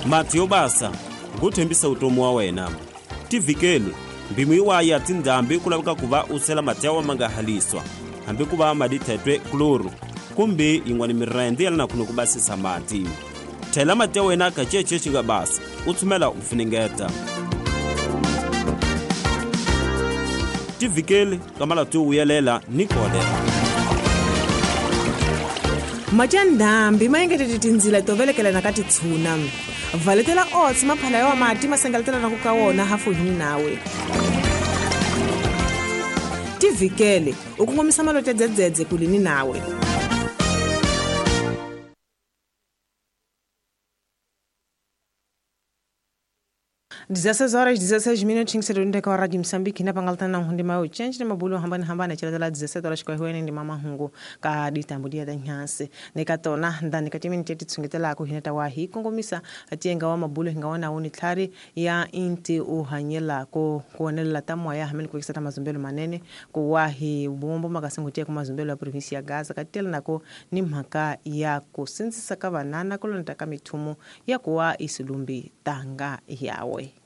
Mati yo basa ngo thembisa utomi wa wena. Tivhikeli mpimo yiwa ya tindhambi ku laveka ku va u sela mati ya wa ma nga haliswa hambi ku va madi thetwe kloro kumbe yin'wana mirende ya lana ku basisa mati. Thela mati ya wena ka cece xi nga basa u tshumela u funengeta. Tivhikeli ka malati yo vuyelela ni kolera. Mati ya ndhambi ma engetete tindzila to velekelana ka titshuna. Valetela oats maphala ya wa mati ma sengeletelana ku ka wona hafuhini nawe. Tivhikele u kongomisa malote dzedzedze kulini nawe. 16 horas 16 minutos sedonde ka Radio Mozambique na pangaltana hundi mayo change na mabulo hambana hambana chilatela 17 horas kwa huene ndi mama hungu ka ditambudia da nyanse ne ka tona ndani ka timini teti tsungetela ku hinata wa hi kongomisa atienga wa mabulo hinga wana uni tlhari ya inti uhanyela ko kuonelela ta moya hamene ku kisata mazumbelo manene ku wa hi bombo makasingo tie ku mazumbelo ya province ya Gaza ka tela nako ni mhaka ya ku sindzisa ka vanana ku lonta ka mithumo ya kuwa isilumbi tanga yawe.